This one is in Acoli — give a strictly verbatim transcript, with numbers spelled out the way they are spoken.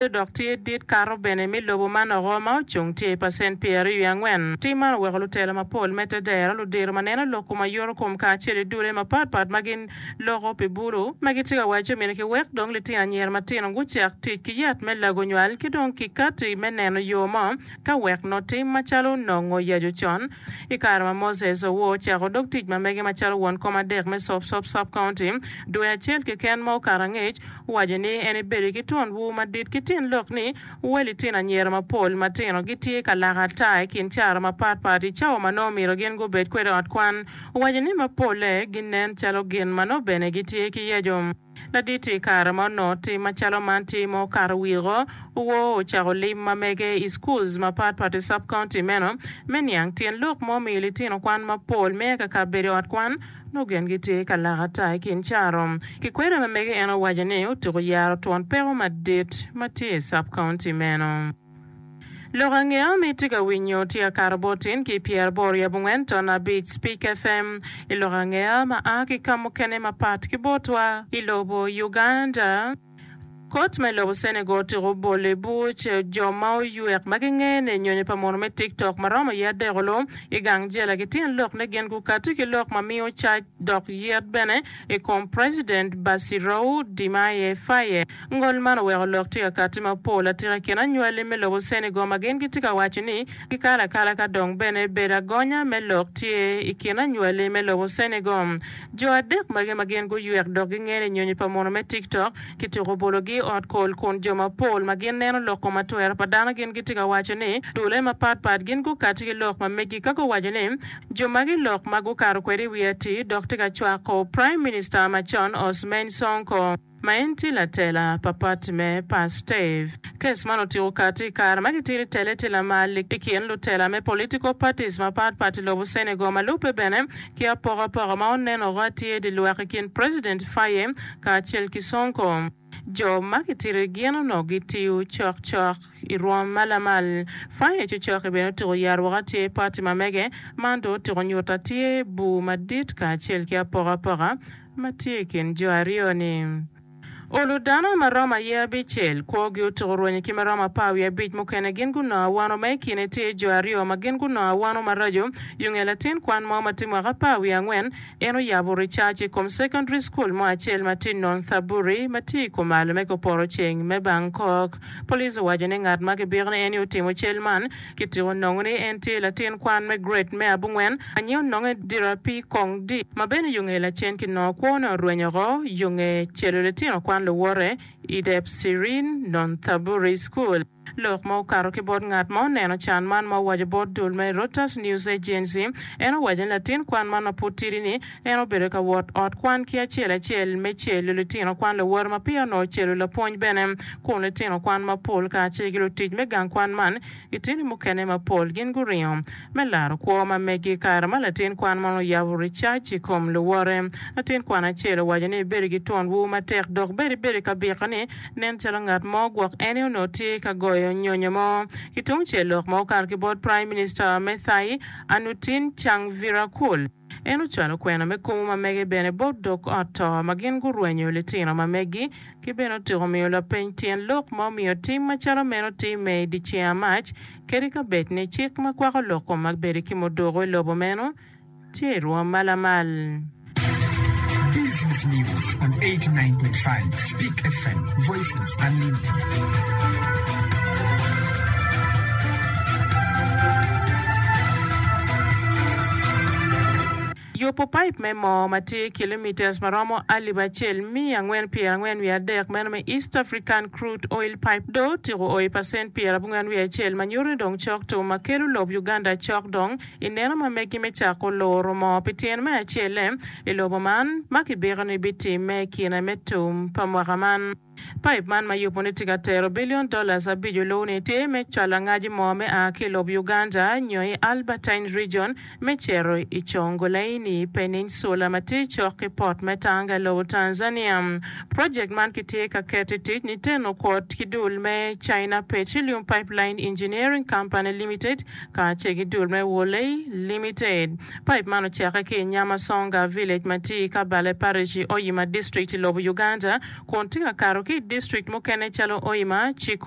Dok tye dit kato bene me lobo man oko ma ocung tye i pacent pyeraryo wiye angwen. Tim man oweko lutela mapol me tedero, ludiro ma neno lok kom ayoto kom kacel i dule mapatpat ma gin loko pi bulu ma gitye ka waco myero kiwek dong litino anyira matino gucak tic ki yat me lago nywal ki dong kikati me neno yo mo ka wek nongo tim macalo nongo yaco con. I kare ma Moses Owor ocako dog tic ma mege macalo won kom adek me Sopsop Sub-County dwe acel keken ma okato angec, owaco ni en ebedo ki twon bur madit ki tyen lok ni wel litino anyira mapol matino gitye ka lako ata i kin caro mapatpat i cawa ma nongo myero gin gubed kwede ot kwan. Owaco ni mapolle ginen calo gin ma nongo bene gitye ki yeco. Ladit i kare ma onongo tim macalo man tye ma okato wiko, Owor ocako lim ma mege i schools mapatpat i sub-county meno me niang tyen lok ma omiyo litino kwan mapol me kaka bedo i ot kwan nongo gin gitye ka lako ata i kin caro. Ki kwede ma mege en owaco ni otuko yaro twon peko madit ma tye i sub-county meno. Lok angeya ma itye ka winyo tye ka kato bot tin ki pyeraboro wiye abongwen ton abic Speak FM i lok angeya ma a ki ka mukene mapat ki botwa i lobo Uganda. Kot me lobo Senegal otyeko bolo i buc jo ma oywek ma gingene i nyonyo pa muno me TikTok ma romo iye adek olu i gang jela ki tyen lok ni gin gukati ki lok ma miyo cac dok yet bene i kom President Bassirou Diomaye Faye. Ngol man oweko lok tye ka kati mapol atika i kin anywali me lobo Senegal ma gin gitye ka waco ni gikalo akala ka dong bene bedo agonya me lok tye i kin anywali me lobo Senegal. Jo adek magi ma gin guywek dok gingene i nyonyo pa muno me TikTok kituko bologi i ot kol kun jo mapol ma gin neno lok kom atwero pa dano gin gitye ka waco ni dule mapatpat gin gukati ki lok ma megi ka guwaco ni jo magi lok ma gukato kwede i wi atir dok tye ka cwako Prime Minister macon Ousmane Sonko ma en tye latela pa pati me Pastef. Kes man otyeko kati i kare ma gitye ni tele tye lamal i kin lutela me political parties mapatpat i lobo Senegal ma lubbe bene ki apokapoka ma onen oko atir di lwak i kin President Faye kacel ki Sonko. Jo ma gitito gin onongo gitiyo cokcok i rwom ma lamal. Faye cocok-ki bene otyeko yaro woko atir pati ma mege, man dong otyeko nyuto atir bur madit kacel ki apokapoka ma tye i kin jo aryo-ni. Olo dano ma romo aye abicel, kwogi otuko rwenyo ki ma romo apar wiye abic mukene gin gunongo awano ma i kine tye jo aryo ma gin gunongo awano maraco. Yo nge latin kwan mo ma tye mwaka apar wiye angwen, en oyabo ricac i kom secondary school mo acel ma tye Nonthaburi ma tye i kumalo me kupoto ceng me Bangkok. Police owaco ni ngat ma kibiko ni en aye otimo cal man Kitiko nongo ni en tye latin kwan me grade me abongwen ma nyinge ononge Dirapi Kong Di, ma bene yo nge lacen kinongo kwone orwenyo oko yo nge celo litino kwan luwote i Depsirin Nonthaburi School. Lok ma okato ki bot ngat ma oneno can man ma owaco bot dul me Reuters News Agency, en owaco ni latin kwan man ma pud tidi ni en obedo ka wot ot kwan ki acel acel me celo litino kwan luwote ma peya onongo celo lapwony bene kun litino kwan mapol kacel ki lutic me gang kwan man Litini mukene mapol gin guringo me laro kwo ma megi i kare ma latin kwan man oyabo ricac i kom luwote. Latin kwan acel owaco ni ebedo ki twon bur matek dok bene ebedo ka biko ni nen calo ngat mo gwok en aye onongo tye ka goyo nyonyo mo. Ki tungcel lok ma okato ki bot Prime Minister me Thai Anutin Charnvirakul, En ocwalo kwena me kumu ma mege bene bot dog ot to ma gin gurwenyo litino ma megi, ki bene otyeko miyo lapeny tyen lok ma omiyo tim macalo meno timme i dyeceng amac, kadi ka bed ni cik ma kwako lok kom ma bedo ki muduku i lobo meno tye i rwom ma lamal. Business News on eighty nine point five Speak F M, Voices Unlimited. Yubo paip me moo ma tye kilometres ma romo alip acel miya angwen pyera angwen wiye adek meno me East African Crude Oil Pipe dong otyeko o i pacent pyera abongwen wiye acel ma nyuto ni dong cok tum ma kelo lob Uganda cok dong i neno ma megi me cako luro moo pi tyen me acelle i lobo man ma kibiko ni bitimme i kine me tum pa mwaka man. Paip man ma yubo ni tye ka tero billion dollars abic olu-ni tye me cwalo angaci moo me a ki i lob Uganda nyo i Albertine Region me cito i Congolaini Peninsula ma tye cok ki port me Tanga i lobo Tanzania. Project man kitye ka keto i tic niteno kwot ki dul me China Petroleum Pipeline Engineering Company Limited kacel ki dul me Wolei Limited. Paip man ocakke ki i Nyamasonga Village ma tye i Kabale Parish i Oyima District i lobo Uganda kun tye ka kato ki ki i distrik mukene calo Hoima, Chikubi,